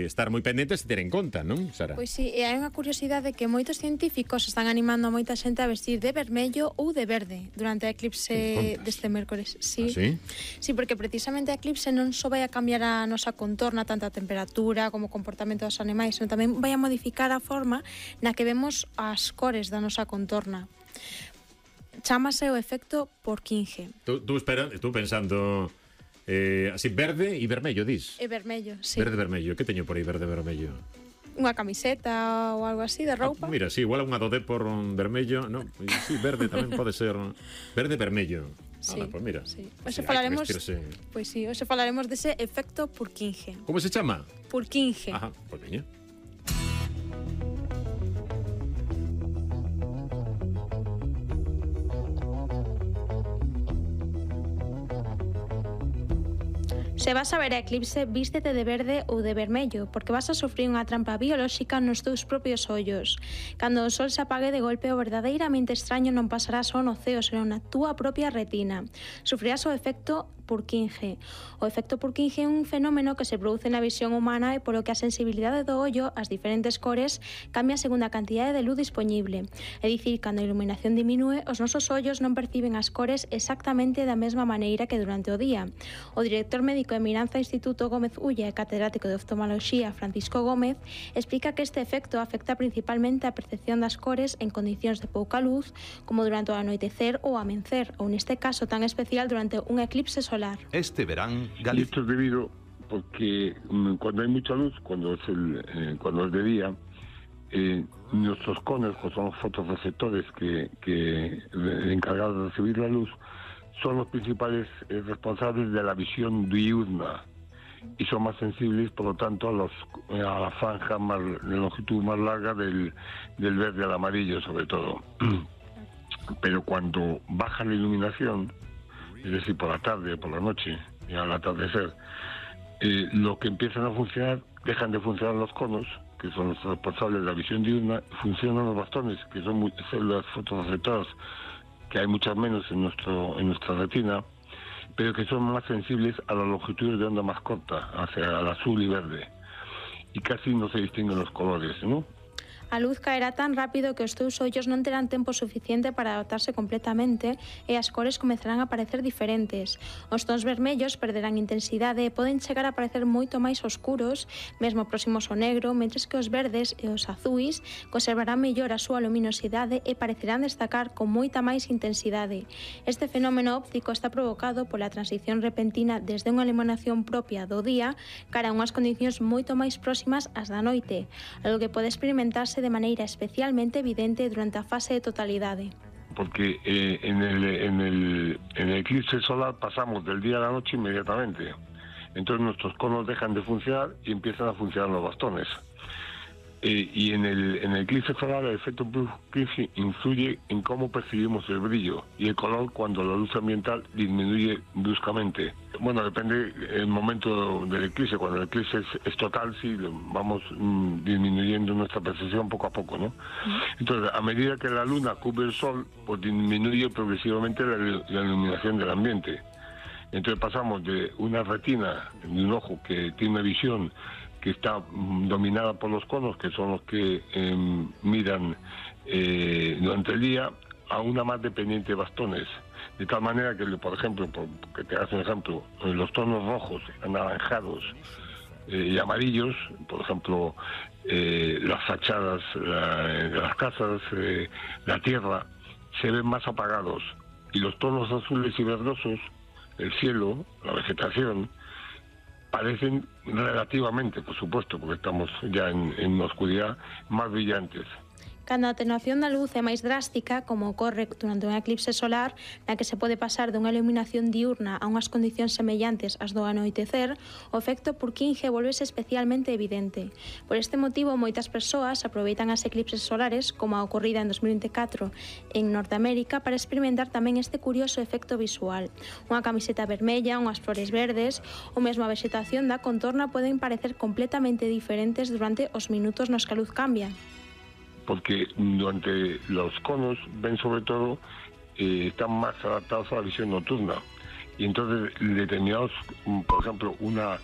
estar moi pendentes e ter en conta, non, Sara? Pois sí, e hai unha curiosidade que moitos científicos están animando a moita xente a vestir de vermello ou de verde durante o eclipse deste mércores. Sí. Sí? Sí, porque precisamente a eclipse non só vai a cambiar a nosa contorna, tanto a temperatura como o comportamento dos animais, senón tamén vai a modificar a forma na que vemos as cores da nosa contorna. Chámase o efecto Purkinje. Tú pensando así, verde e vermello, dis? É vermello, sí. Verde vermello, que teño por aí verde vermello? Unha camiseta ou algo así de roupa. Mira, sí, igual unha do por vermello, no, sí, verde tamén pode ser verde vermello. Sí, pues mira. Sí. Sí, Pois sí, hoxe falaremos dese efecto Purkinje. Como se chama? Purkinje. Ajá, pois veña. Se vas a ver a eclipse, vístete de verde ou de vermello, porque vas a sufrir unha trampa biolóxica nos teus propios ollos. Cando o sol se apague de golpe, o verdadeiramente extraño non pasará só no ceo, senón na túa propia retina. Sufrirás o efecto Purkinje. O efecto Purkinje é un fenómeno que se produce na visión humana e polo que a sensibilidade do ollo ás diferentes cores cambia segundo a cantidade de luz disponible. É dicir, cando a iluminación diminúe, os nosos ollos non perciben as cores exactamente da mesma maneira que durante o día. O director médico de Miranza Instituto Gómez Ulla e catedrático de oftalmoloxía Francisco Gómez explica que este efecto afecta principalmente a percepción das cores en condicións de pouca luz, como durante o anoitecer ou amencer, ou neste caso tan especial durante un eclipse solar. Este verán, Galicia. Y esto es debido porque cuando hay mucha luz, cuando es de día, nuestros conos, que son los fotorreceptores que encargados de recibir la luz, son los principales responsables de la visión diurna y son más sensibles, por lo tanto, a la franja de longitud más larga del verde al amarillo, sobre todo. Pero cuando baja la iluminación, es decir, por la tarde o por la noche, y al atardecer, lo que empiezan a funcionar, dejan de funcionar los conos, que son los responsables de la visión diurna, funcionan los bastones, que son células fotorreceptoras, que hay muchas menos en nuestra retina, pero que son más sensibles a las longitudes de onda más corta, hacia el azul y verde, y casi no se distinguen los colores, ¿no? A luz caerá tan rápido que os teus ollos non terán tempo suficiente para adaptarse completamente e as cores comezarán a parecer diferentes. Os tons vermellos perderán intensidade e poden chegar a parecer moito máis oscuros, mesmo próximos ao negro, mentres que os verdes e os azuis conservarán mellor a súa luminosidade e parecerán destacar con moita máis intensidade. Este fenómeno óptico está provocado pola transición repentina desde unha iluminación propia do día cara a unhas condicións moito máis próximas ás da noite, algo que pode experimentarse de maneira especialmente evidente durante a fase de totalidade. Porque en el eclipse solar pasamos del día a la noche inmediatamente. Entonces nuestros conos dejan de funcionar y empiezan a funcionar los bastones. Y en el eclipse solar el efecto Purkinje influye en cómo percibimos el brillo y el color cuando la luz ambiental disminuye bruscamente. Bueno, depende el momento del eclipse. Cuando el eclipse es total, sí, vamos disminuyendo nuestra percepción poco a poco, ¿no? Entonces, a medida que la luna cubre el sol, pues disminuye progresivamente la iluminación del ambiente. Entonces pasamos de una retina, de un ojo que tiene una visión que está dominada por los conos, que son los que miran durante el día, a una más dependiente de bastones. De tal manera que, por ejemplo, que te hagas un ejemplo, los tonos rojos, anaranjados y amarillos, por ejemplo, las fachadas de las casas, la tierra, se ven más apagados. Y los tonos azules y verdosos, el cielo, la vegetación, parecen relativamente, por supuesto, porque estamos ya en una oscuridad, más brillantes. Cando a atenuación da luz é máis drástica, como ocorre durante un eclipse solar, na que se pode pasar dunha iluminación diurna a unhas condicións semellantes ás do anoitecer, o efecto Purkinje volvese especialmente evidente. Por este motivo, moitas persoas aproveitan as eclipses solares, como a ocorrida en 2024 en Norteamérica, para experimentar tamén este curioso efecto visual. Unha camiseta vermella, unhas flores verdes, ou mesmo a vegetación da contorna poden parecer completamente diferentes durante os minutos nos que a luz cambia. Porque durante los conos ven sobre todo, están más adaptados a la visión nocturna. Y entonces determinados, por ejemplo, una